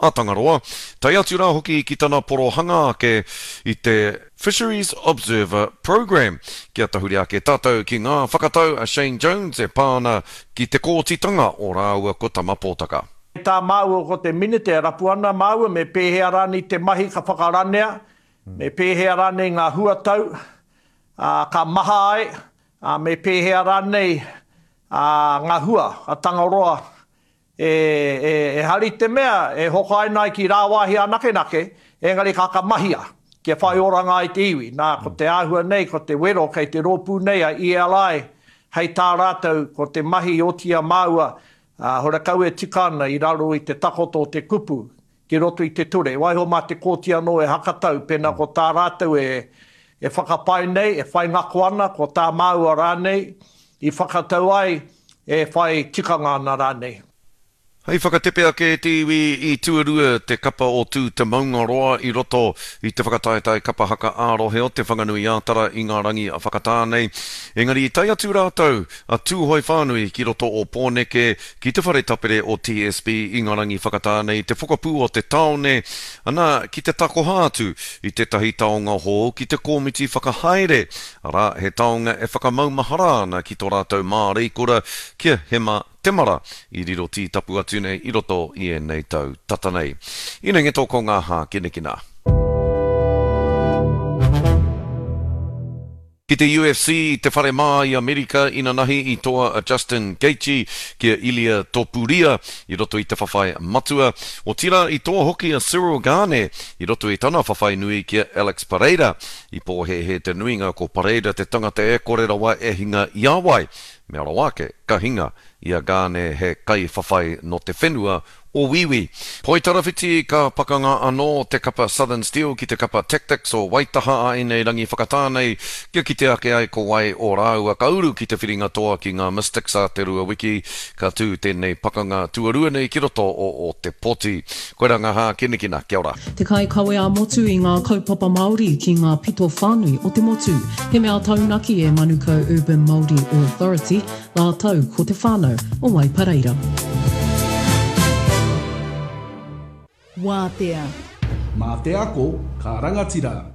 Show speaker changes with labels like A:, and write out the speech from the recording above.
A: A Tangaroa, tae atu rā hoki ki tana porohanga ake i te Fisheries Observer Programme. Kia tahuri ake tātou ki ngā whakatau a Shane Jones e pā ana ki te kōtitanga o rāua ko Tama Pōtaka.
B: Tā māua ko te Minita e rapu ana māua me pēhea rānei te mahi ka whakaranea, me pēhea rānei ngā huatau, ā, ka maha ai, ā, me pēhea rānei, ā, ngā hua a Tangaroa E, e, ehara i te mea e hokaina ai ki rāwāhi anakenake, engari ka ka mahia, kia whai oranga ai te iwi. Nā, ko te āhua nei, ko te wero kei te rōpū nei a ELI, hei tā rātou, ko te mahi i oti i a māua, ā, horekau e tika ana i raro i te takoto o te kupu, ki roto i te ture. Waiho mā te kōti anō e hakatau, pēnā ko tā rātou e, e whakapae nei, e whai ngako ana, ko tā māua rānei i whakatau ai, e whai tikanga ana rānei.
A: Hei whakatepe ake te iwi i tuarua te kapa o Tū Te Maungaroa i roto i te whakataetae kapa haka ā-rohe o Te Whanganui-ā-Tara i ngā rangi whakatā nei. Engari i tae atu rātou a Tūhoe whānui ki roto o Pōneke ki te whare tapere o TSB i ngā rangi whakatā nei te pokapū o te tāone, ana, ki te takoha atu i tētahi taonga hou ki te kōmiti whakahaere, arā, he taonga e whakamaumahara ana ki tō rātou māreikura ki a Hema Temara i riro tītapu atu nei i roto i ēnei tau tata nei. Inengeto ko ngā hākinakina. Ki te UFC i te whare mā i Amerika inanahi i toa a Justin Gaethje ki a Ilia Topuria i roto i te whawhai matua. Otirā i toa hoki a Ciryl Gane i roto i tana whawhai nui ki a Alex Pereira. I pōhēhē te nuinga ko Pereira te tangata e kore rawa e hinga i a wai. Mea rawa ake, ka hinga i a Gane he kaiwhawhai nō te whenua o Wīwī. Poitarawhiti ka pakanga anō te kapa Southern Steel ki te kapa Tactix o Waitaha a ēnei rangi whakatā nei kia kite ake ai ko wai o rāua ka uru ki te whiringa toa ki ngā Mystics a te Rua Wiki ka tū tēnei pakanga tuarua nei ki roto o Ōtepoti. Koirā ngā hākinakina. Kia ora.
C: Te kaikawe ā-motu i ngā kaupapa Māori ki ngā pito whānui o te motu. He mea taunaki e Manukau Urban Māori Authority rātou ko te whānau o Waipareira.
D: Wātea.
E: Mā te ako ka rangatira.